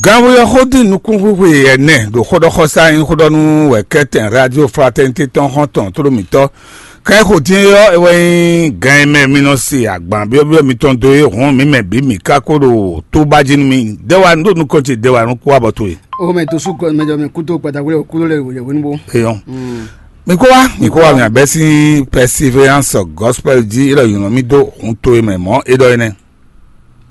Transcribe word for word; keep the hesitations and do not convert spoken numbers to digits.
Ganweyɔ xó dín nukúnxwixwe ɛnɛ ɖo xóɖɔxɔsá nyí xóɖɔnú wɛ kɛ́tɛn Radio Fraternité tɔn xɔ́ntɔn tlóló mǐtɔn. Kɛ́n xo dín ɔ́, é wɛ nyí gan e mɛ mi nɔ se agban byɔ́byɔ́ mitɔn dó é hǔn mǐ mɛ bǐ mǐ ka ko ɖo tó ba jí nú mi. Dɛwa nú ɖo nukɔn ce dɛwa nú kú abɔ towe. O mɛ to sú kɔ mɛ jɔ mɛ kútó kpata wúlò kúló lɛ wòye wénú bó. Eyɔn. Mi kó wá, mi kó wá, mi àbɛ sín Perseverance Gospel jí, é lɔ yɔnɔ mi dó hun to e mɛ mɔ̌ é ɖɔ é nɛ́.